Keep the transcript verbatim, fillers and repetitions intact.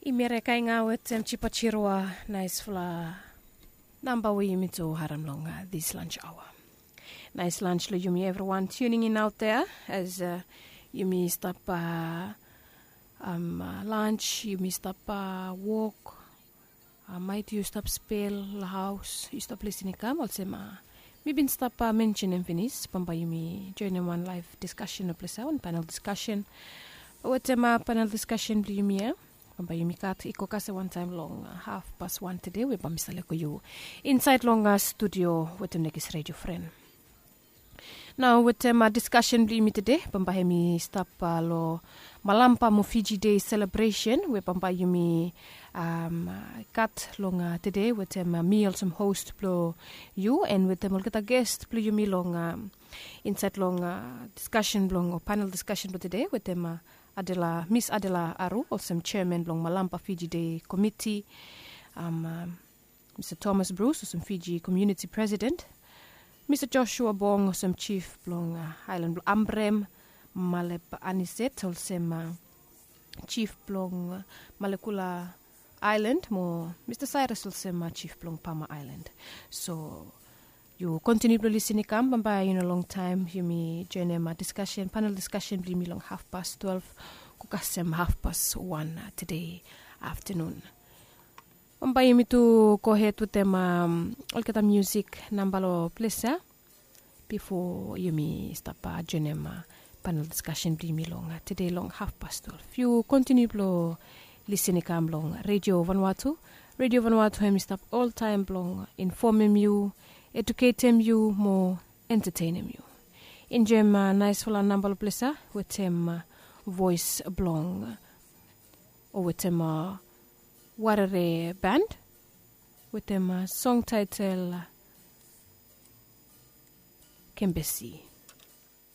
Yumi rekai nga wetem Chipa Chirua, naispela namba we yumi tu harim long, uh, this lunch hour. Nice lunch lo yumi everyone tuning in out there as, uh, yumi stap, uh, um, uh, lunch, yumi stap, uh, wok, uh, maet yu stap spel lo haus, yu stap lisin i kam olsem, uh, mi bin stap, uh, mensenem finis, bambae yumi joinim wan live discussion lo ples ya, wan panel discussion. Wetem, uh, panel discussion blo yumi ya, bambae yumi gat i go kasem wantaem long, uh, haf pas wan tede we bambae mi save lego yu insaed long, uh, studio wetem nekis redio fren. Nao wetem, uh, discussion blo yumi tede, bambae hemi stap, uh, lo Malampa mo Fiji Day celebration we bambae yumi, um, uh, gat long, uh, tede wetem, uh, mi olsem host blo yu, and wetem olgeta guest blo yumi long, um, insaed long, uh, discussion blong o panel discussion blo tede wetem, uh, Adela, Miss Adela Aru olsem chairman blong Malampa Fiji Day Committee, um, um, Mr Thomas Bruce olsem Fiji Community President, Mr Joshua Bong olsem chief blong, uh, aelan blong Ambrem, Malep Aniset olsem, uh, chief blong, uh, Malekula Island mo Mr Cyrus olsem, uh, chief blong Pama Island. So yu kontiniu blong lisin i kam, bambae i no longtaem yumi joinim, uh, discussion, panel discussion blo yumi long haf pas twelve go kasem haf pas wan, uh, tede aftanun. Bambae yumi tu gohed wetem, um, olgeta musik namba lo ples ya bifo yumi stap, uh, joinim, uh, panel discussion blo yumi long, uh, tede long haf pas twelve. Yu kontiniu blong lisin i kam long Redio Vanuatu. Redio Vanuatu hemi stap oltaem blong infomem yu, eduketem yu mo entetenem yu. Enjoem, uh, naesfala namba lo ples ya wetem, uh, voes blong, o wetem, uh, Warere Band wetem, uh, song taetel, uh, Kembesi.